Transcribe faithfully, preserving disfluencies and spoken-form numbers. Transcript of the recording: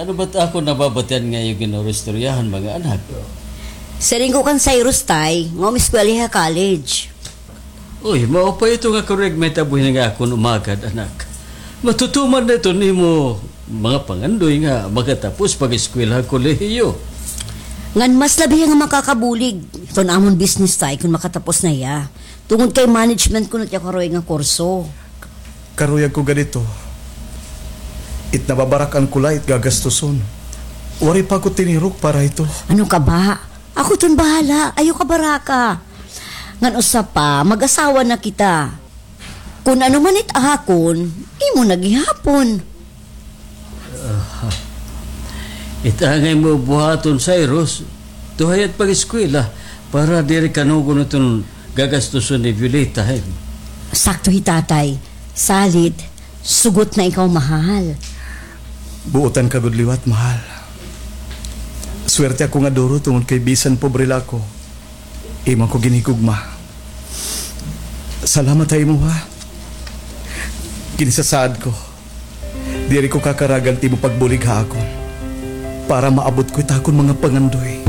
Ano ba't ako nababatian nga iyo ginaristoryahan, mga anak? Siring ko kan Cyrus, tay, nga umiskwela ha college. Uy, maupay ito nga karuyag mahitabo hini nga akon umagad, anak. Matutuman na ito nimo mga pangandoy nga makatapos pag-eskwela ha kolehiyo. Ngan mas labi nga makakabulig iton amon business, tay, kon makatapos na hiya. Tungod kay management kuno it iya karuyag nga kurso. Karuyag ko gad ito. It nababarak-an ko la it gagastuson. Waray pa ako tinirok para hito. Ano ka ba? Ako iton bahala. Ayaw kabaraka. Ngan usa pa, mag-asawa na kita. Kon ano man it akon, imo na gihapon. Ah, it angay mo buhaton, Cyrus, tuhay it pag-eskwela para diri kanugon iton gagastuson ni Violeta, eh. Sakto hi tatay. Salit, sugot na ikaw, mahal. Buotan ka gud liwat, mahal. Swerte ako nga duro tungod kay bisan pobre la ako, imo ako ginhigugma. Salamat ha imo, ha. Ginisasaad ko, diri ko kakaragan it imo pagbulig ha akon para maabot ko it akon mga pangandoy.